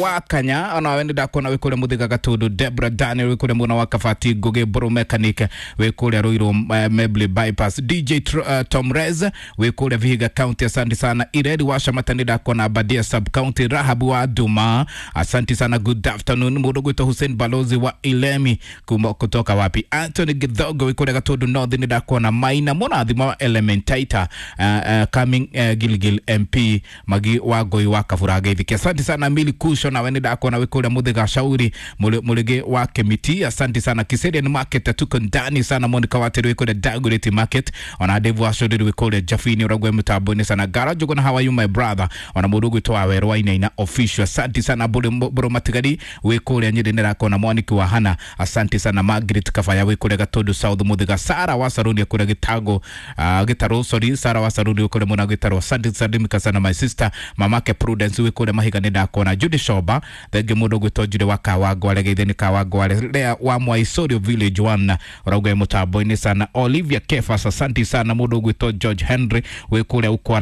wa Kanya ona we ndakona wi kuria Muthiga Gatundu. Debra Daniel wi kuria mwena wa Kabati. Ngugi Mburu Mechanic wi kuria Ruiru, Mebli Bypass. DJ Tom Rez wi kuria Vihiga County, asante sana. Ireri wa Shamata ndakona Badia Sub County. Rahabu wa Duma, asante sana, good afternoon. Mundu gwitwo Hussein Balozi wa Ilemi kuma kutoka wapi? Anthony Githogo wi kuria Gatundu North ndakona Maina Mũrathima wa Elementaita, coming, Gilgil MP Magi wa Ngoi wa Kabura Geithiki, asante sana. Mili Kusho nawe ndakona wi kuria Muthiga Shauri Murigi wa Kemiti, asante sana. Kiserian Market tuko ndani sana. Monica Wateri wi kuria Dagoretti Market, ona Dave Washori wi kuria Jafini uragwe mutambo-ini sana. Gara Njuguna, how are you my brother? Ona mundu gwitwo wa Werũ wa Inaina official, asante sana. Mburu Matigari wi kuria Nyeri ndirakona Mwaniki wa Hana, asante sana. Margaret Kabaya wi kuria Gatundu South Muthiga. Sara wa Saruni kuria Gitago, Gitaru, sorry, Sara wa Saruni wi kuria mwena Gitaru, asante sana sana my sister. Mamake Prudence wi kuria Mahiga ndakona Judy Shoba, thengi mundu gwitwo Judy wa Kawangware geithe ni Kawangware. Lea wa Mwaisorio Village 1 urauga mutambo-ini sana. Olivia Kefas, asante sana. Mundu gwitwo George Henry wi kuria Ukwara.